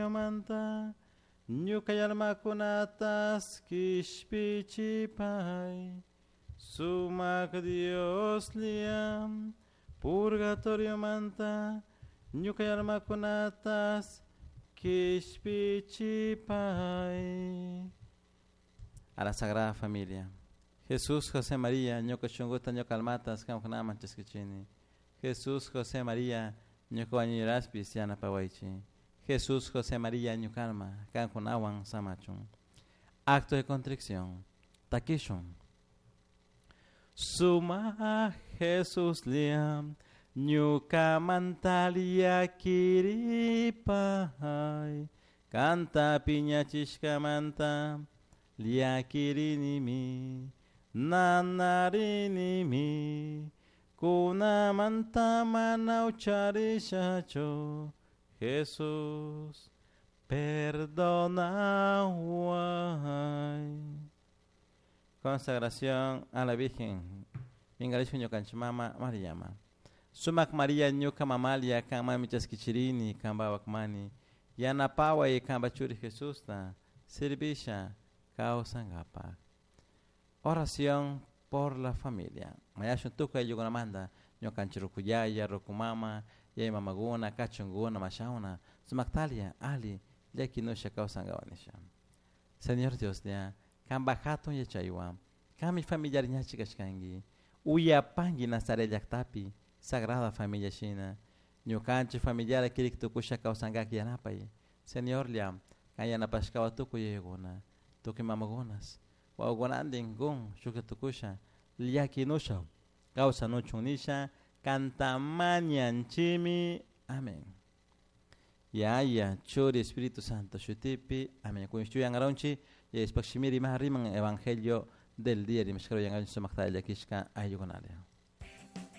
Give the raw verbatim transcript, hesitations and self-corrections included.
Manta ñuka almakunatas kishpichipay Sumak Dioslla purgatoriomanta ñuka almakunatas kishpichipay. A la Sagrada Familia. Jesús, José, María, ñuka shunkuta ñuka almatas qamkunaman chaskichini. Jesús, José, María, ñuka wañuyraspis yanapawaychik. Jesús, José, María, ñuka alma, qamkunawan samachun. Acto de contrición. Takishun. Suma Jesuslla ñukamanta llakiripay kanta piñachishkamanta llakirinimi nanarinimi kunamanta mana ucharishachu Jesús perdonaway. Consagración a la Virgen. Mingarishun ñukanchik mama Mariama. Sumak María ñuka mamalia kanmanmi chaskichirini kanpawak mani yanapaway kanpa churi Jesusta servisha kawsankapak. Oración por la familia. Mañashun tukuy ayllukunamanta ñukanchik ruku yaya, ruku mama, yaya mamakuna, kachunkuna, mashawna, sumaktalia, ali, llakinusha kawsankapak nisha. Señor Dioslla, kanpak hatun yachaywan, kanmi familiar ñachi kashkanki, uyapanki Nazaret llaktapi, Sagrada Familia shina, ñukanchik familiar kirik tukusha kawsankak yanapay. Señorlla, kan yanapashkawan tukuy yayakuna, tukuy mamakunas, wawakunantin kun shuklla tukusha, llakinusha kawsanuchun nisha, kanta mañanchimi. Amén. Yaya, Churi, Espíritu Santo, shutipi. Amén. Kuy shuyankaronchik, yayashpak shimi riman riman Evangelio del día rimashkaro yankaronchik sumakta llakishka ayllukunalla.